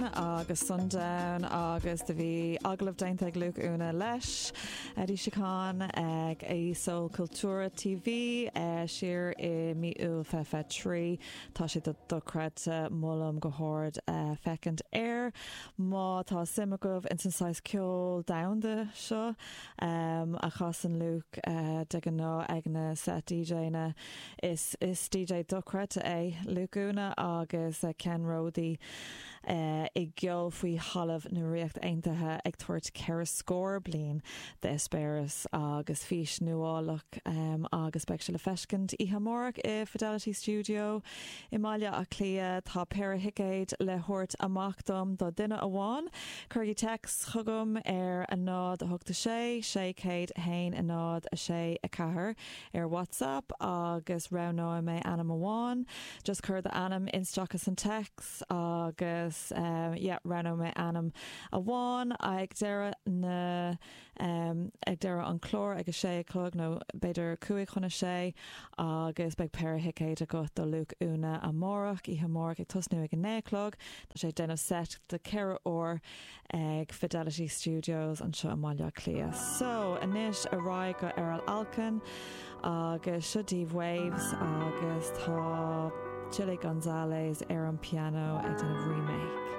Agus Sundown agus do bhí agallamh déanta ag Luke Úna leis Eddie Chacon ag Soul Cultura TV siar i mí Iúil 2023. Tá sé dochreidte, molaim go hard féachaint air má tá suim agaibh ins an saghas ceol domhanda seo a chasann Luke de ghnáth ag na set DJanna. Is is DJ dochreidte é Luke Úna agus ceannródaí i gceol faoi thalamh na Ríocht Aontaithe ag tabhairt 4 scór bliain d'eispéireas agus fís nuálach agus beidh sé le feiscint oíche amárach i Fidelity Studio i mBaile Átha Cliath. Tá péire thicéad le thabhairt amach dom do duine amháin. Cuirigí téacs chugam ar 0 8 6 600 1 0 6 4. ar WhatsApp agus roghnóidh mé ainm amháin. Just cuir d'ainm isteach san téacs agus yeah roghnóidh mé ainm amháin ag deireadh na ag deireadh an chlár ag a sé a chlog nó b'fhéidir 5:55 agus beidh péire thicéad agat do Luke Úna amárach, oíche amárach ag tosnú ag a 9 a chlog. Tá sé ag déanamh set de 4 uair ag Fidelity Studios anseo i mBaile Átha Cliath. So, anois ar aghaidh go Erol Alkan agus seo daoibh Waves agus tá Chilly Gonzales ar an piano ag déanamh remake.